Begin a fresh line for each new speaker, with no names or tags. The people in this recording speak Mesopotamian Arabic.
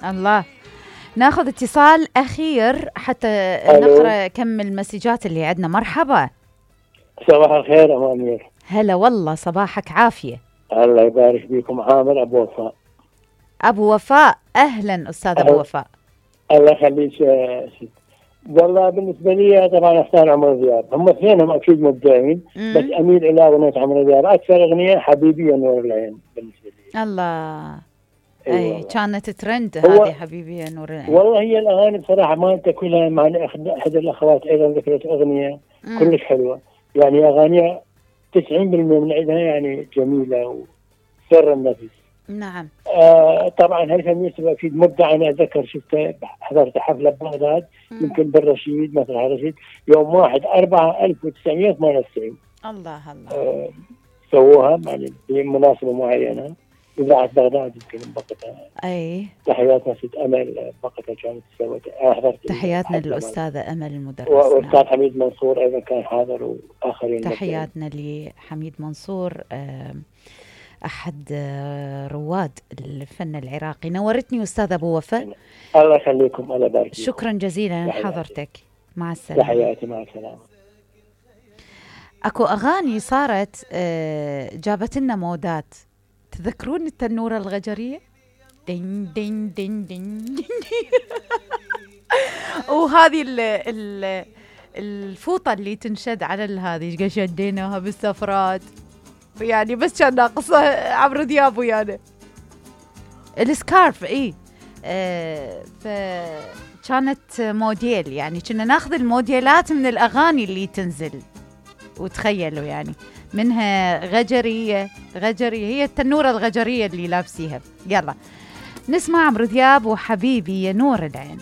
الله. ناخذ اتصال أخير حتى نقرأ كم المسجات اللي عندنا. مرحبا.
صباح الخير أم أمير.
هلا والله، صباحك عافية.
الله يبارك فيكم. عامر أبو وفاء.
أبو وفاء، أهلا أستاذ أبو وفاء.
الله يخليك. والله بالنسبة لي طبعا أختار عمرو دياب، هم اثنينهم أكيد مبدعين، بس أميل إلى أغنية عمرو دياب. أكثر أغنية حبيبي يا نور العين بالنسبة لي.
الله. أي كانت ترند هذه حبيبي يا نور العين.
والله هي الأغاني بصراحة ما أنت كلها، مع أحد الأخوات أيضا ذكرت أغنية كلش حلوة، يعني أغاني 90% من عندها يعني جميلة وسر النفس.
نعم.
طبعا هيثم يوسف أكيد مبدع. أنا أتذكر شفته، حضرت حفلة ببغداد يمكن بالرشيد، مثلا الرشيد يوم 1/4/1998.
الله الله.
سووها يعني بمناسبة معينة، إذاعة بغداد يمكن بوقتها.
أي
تحياتنا ست أمل بوقتها كانت سوت.
تحياتنا للأستاذة أمل المدرس،
والأستاذ حميد منصور أيضا كان حاضر وآخرين.
تحياتنا لحميد منصور، أحد رواد الفن العراقي. نورتني أستاذ أبو وفاء.
الله يخليكم. الله يبارك.
شكرا جزيلا لحضرتك. مع السلامة.
تحياتي. مع السلامة.
أكو أغاني صارت جابت لنا مودات. تذكرون التنورة الغجرية؟ دين دين دين دين وهذه الفوطة اللي تنشد على هذه شديناها بالسفرات، يعني بس كان ناقصة عمرو دياب ويانا السكارف. فكانت موديل، يعني كنا ناخذ الموديلات من الأغاني اللي تنزل، وتخيلوا يعني منها غجرية هي التنورة الغجرية اللي لابسيها. يلا نسمع عمرو دياب وحبيبي يا نور العين.